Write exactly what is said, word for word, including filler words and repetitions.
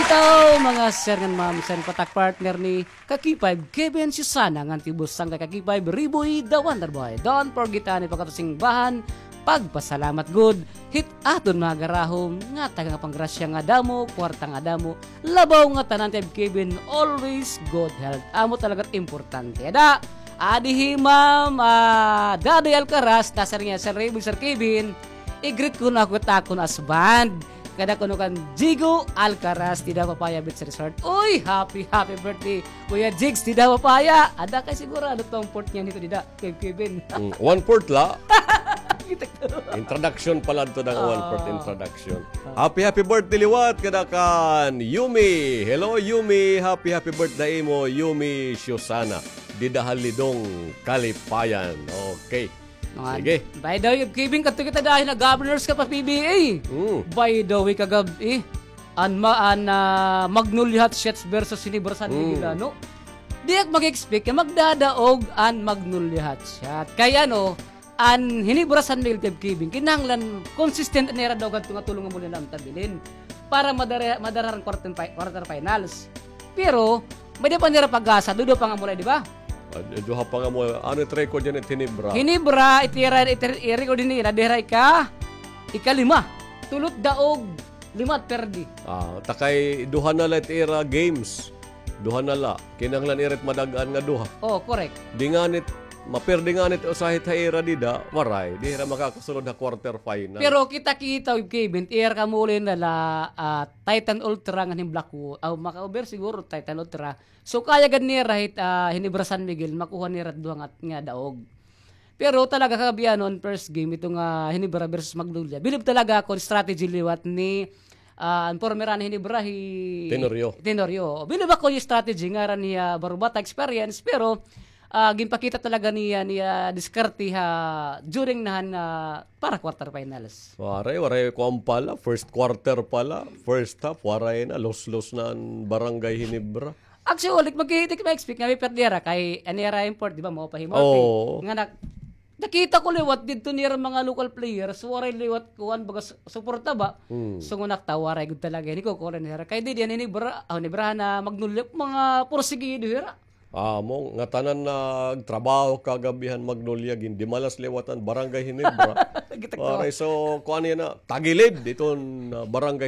Ito, mga sir ngan ma'am, sir, patak partner ni Kaki Five, Kevin Susana, ngan tibusang kay Kaki Five, Riboy, the Wonder Boy. Don't forget, ani, pagkatusing bahan, pagpasalamat gud hit aton mga garahom, nga taga nga panggrasya nga damo, kwarta nga damo, labaw nga tanan kay Kevin, always good health. Amo talaga importante. Ada, adi hi Ma'am, ah, Dadoy Alcaraz, na, sir, nga, Sir Riboy, Sir Kevin, i-greet ko na ako takon as band. Kada kuno kan Jigo Alcaraz, dida Papaya Beach Resort. Uy, happy, happy birthday, Kuya Jigs, dida Papaya. Ada kay sigurado tong port niya nito dida, Kuya Kevin. Mm, one port la. Kita ko. Introduction pala to ng one port Ah. introduction. Ah. Happy, happy birthday liwat kada kan Yumi. Hello, Yumi. Happy, happy birthday imo, Yumi Shosana. Dida ha Lidong, Kalipayan. Okay. Mga Sige. By the way, Kevin, kadto kita dahin na Governors Cup ha P B A. Mm. By the way, kagab-i, an ma-, an, ah, Magnolia Hotshots versus Ginebra San Miguel, Mm. ano? Di ak mag-expect nga magdadaog an Magnolia Hotshots. Kay ano, an Ginebra San Miguel kay Kevin, kinahanglan consistent an ira daog hadto nga tulo nga mula na ang tabilin para madara-, madara han quarter fi-, quarter finals. Pero, may-ada pa nira pag-asa, duduha pa nga mulay, di ba? Ah, duha pa nga mulay. Ano it record yana it Ginebra? Ginebra, it ira, it, it record nira, dira ika, ikalima. Tulot daog, lima perdi. Ah, ta kay duha na la it ira games. Duha na la. Kinahanglan ira it madag-an nga duha. Oh, correct. Di nganit, maperdi nganit usa hit ha ira dida, waray. Di hira makakasulod ha quarter final. Pero kita-kita, Kevin, ira kamuli na la, ah, Titan Ultra ngan hin Blackwood. Aw, maka-over siguro Titan Ultra. So, kaya gad nira hit, ah, Ginebra San Miguel, makuha nira duha nga, nga daog. Pero talaga kagabihan on first game, ito nga Ginebra versus Magnolia. Bilib talaga ako, strategy liwat ni, ah, an former ni Ginebra, hi Tenorio. Tenorio. Bilib ako yung strategy, ngaran niya, Barubata experience, pero, ah, ginpakita talaga niya, niya diskarte ha, during na han, ah, para quarterfinals. Waray, waray ko ang pala. First quarter pala. First half, waray na. Los-los na an Barangay Ginebra. Actually, magkita ka ma-expect nga may perdera kay an ira import, di ba, mao pa himo. Oo. Nga nak-, nakita ko liwat didto nira mga local players, waray liwat kuan baga su-, suporta ba? Hmm. So, nga nakita, waray gud talaga. Ini ko kuan nira. Kay di diyan ini bra-, ah, ni Brana, Magnolia, mga porsigido hira. Amo, ngatanan nagtrabaho kagabihan Magnolia, gindimalas liwat an Barangay Ginebra. Kita ko. Waray, so, kuan yana, tagilid iton, ah, Barangay